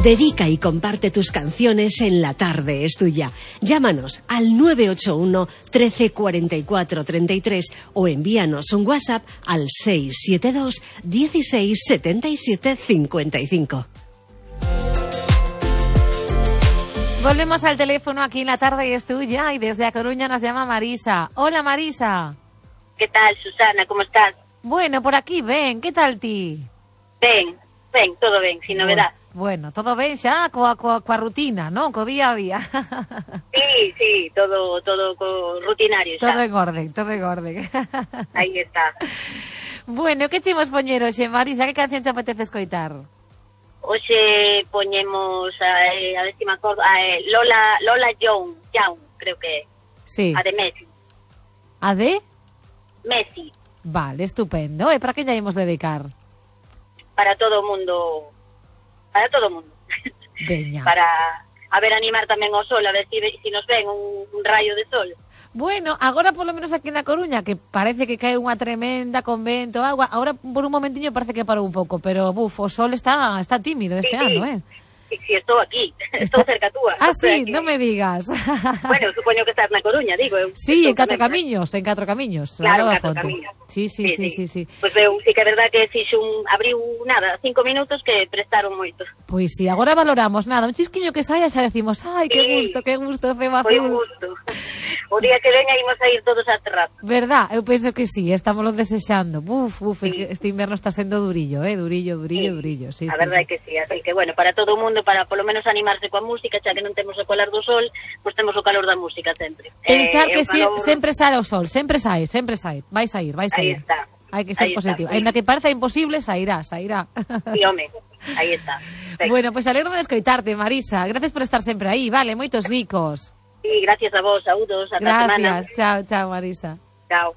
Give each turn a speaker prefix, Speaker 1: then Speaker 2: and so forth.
Speaker 1: Dedica y comparte tus canciones en La Tarde es Tuya. Llámanos al 981 13 44 33 o envíanos un WhatsApp al 672 16 77 55.
Speaker 2: Volvemos al teléfono aquí en La Tarde es Tuya y desde A Coruña nos llama Marisa. Hola, Marisa.
Speaker 3: ¿Qué tal, Susana? ¿Cómo estás?
Speaker 2: Bueno, por aquí, ven. ¿Qué tal ti?
Speaker 3: Ben, todo ben, sin novedad.
Speaker 2: Bueno, todo ben xa coa rutina, non? Co día a día.
Speaker 3: Sí, todo rutinario xa.
Speaker 2: Todo en orden.
Speaker 3: Aí está.
Speaker 2: Bueno, que chimos poñer hoxe, Marisa? Que canción te apetece escoitar?
Speaker 3: Hoxe poñemos, a ver si me acordo, Lola Young, creo que é.
Speaker 2: Sí.
Speaker 3: A de Messi.
Speaker 2: A de?
Speaker 3: Messi.
Speaker 2: Vale, estupendo. E para que lla imos dedicar?
Speaker 3: Para todo o mundo.
Speaker 2: Veña.
Speaker 3: Para, a ver, animar tamén o sol, a ver si nos ven un rayo de sol.
Speaker 2: Bueno, agora polo menos aquí na Coruña, que parece que cae unha tremenda con vento, agua, agora por un momentiño parece que parou un pouco, pero o sol está tímido este ano,
Speaker 3: Sí, estou aquí, estou cerca túa.
Speaker 2: Ah, sí, non me digas.
Speaker 3: Bueno, supoño que estás na Coruña, digo.
Speaker 2: Sí, en Catro Camiños.
Speaker 3: Claro, en Catro Camiños.
Speaker 2: Sí.
Speaker 3: Pois eu sí que é verdad que fixo abriu 5 minutos que prestaron moito.
Speaker 2: Pois sí, agora valoramos un chisquiño que saia xa decimos, ai, que gusto, ceba azul.
Speaker 3: Foi un gusto. O día que veña imos a ir todos a terraza.
Speaker 2: Verdad, eu penso que sí, estamos lo desexando. Es que este inverno está sendo durillo, durillo. Sí,
Speaker 3: a verdade é que sí, así que bueno, para todo o mundo, para polo menos animarse coa música, xa que non temos o colar do sol, pois temos o calor da música sempre.
Speaker 2: Pensar que sempre sale o sol, sempre sai. Vai sair.
Speaker 3: Aí está.
Speaker 2: Hai que ser positivo. Ainda que pareza imposible, sairá.
Speaker 3: Sí, home, aí está.
Speaker 2: Perfecto. Bueno, pois alegro de escoitarte, Marisa. Gracias por estar sempre aí, vale, moitos bicos.
Speaker 3: Sí, gracias a vos, saúdos, ata a semana.
Speaker 2: Gracias, chao, Marisa.
Speaker 3: Chao.